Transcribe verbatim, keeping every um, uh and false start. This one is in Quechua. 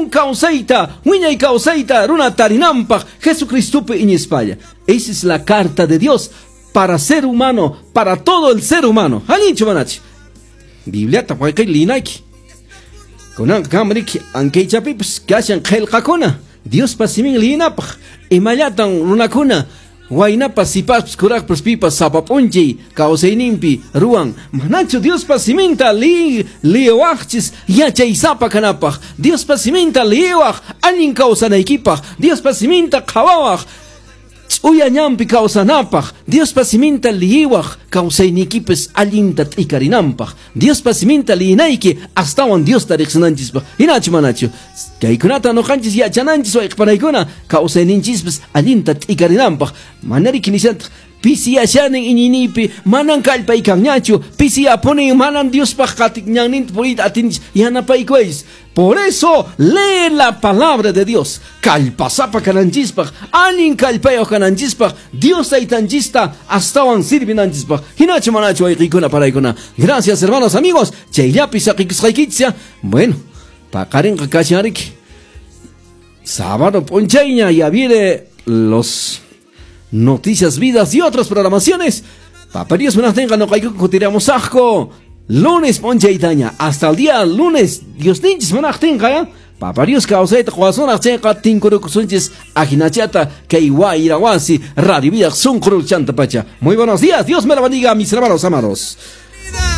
Allin kawsayta, wiñay kawsayta runa tarinanpaq Jesucristopi iñispalla. Esa es la carta de Dios para ser humano, para todo el ser humano. Allinchu manachu. Bibliata wayqi liyinayki. Kunanqa kanriki ankaychapipas kashan qillqakuna Diospa simin liyinapaq imallatan runakuna waynapas sipaspas kuraqpas pipas sapa p'unchay kawsayninpi ruwan manachu Diospa siminta li liwaqchis yachaysapa kanapaq Diospa siminta liwaq allin kawsanaykipaq Diospa siminta qhawawaq ch'uya ñanpi kawsanapaq Diospa siminta liyiwaq kawsayniykipis allinta t'ikarinanpaq Diospa siminta liyinayki astawan Diosta riqsinanchispaq hinachu manachu kaykunata nuqanchis yachananchis wayqipanaykuna kawsayninchispis allinta t'ikarinanpaq manariki nishantaq pisiyashanin iñiniypi manan kallpaykanñachu pisiyapunin manan Diospaq qatiq ñanninta puriyta atinchis yanapaykuwaychis. Por eso lee la palabra de Dios. Kallpasapa kananchispaq, allin kallpayuq kananchispaq, Dios taytanchista astawan sirvinanchispaq. Hinachu manachu wayqiykuna paraykuna. Gracias, hermanos, amigos. Chayllapi saqikusqaykichis. Bueno, paqarinqa kashanriki. Sábado p'unchayña ya viene los Noticias Vidas y otras programaciones. Papá Dios munaqtinqa nuqayku kutiramusaqku. Lunes p'unchaytaña. Hasta el día lunes. Diosninchis munaqtinqa ya. Papá Dios kawsayta quwasunaq chayqa tinkurukusunchis ajinachata kay Wayra Wasi Radio Vida sunqu chanta pacha. Muy buenos días. Dios me la bendiga, mis hermanos amados.